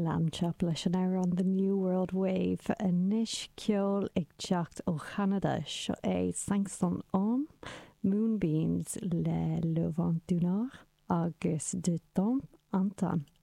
Lambchop leis an amhrán The New World Wave. Anois ceol ag teacht ó Cheanada, seo é Cinq Cents Hommes, Moonbeams le Le Vent du Nord agus De Temps en Temps.